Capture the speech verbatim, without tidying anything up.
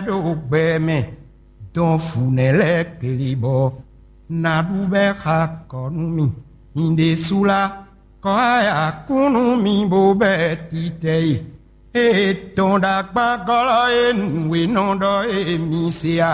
ɖo gbɛ mɛ, dɔn fǔnɛ lɛ́ɛ keli bɔ ná ɖu bɛ́ xa kɔ nú mì. Nyɛ ɖésú lá, kɔ ayakún nú mì bó bɛ́ titɛ e. Ée tɔn ɖo akpágɔ́lɔ́ e nǔ e nɔ ɖɔ e mi se a?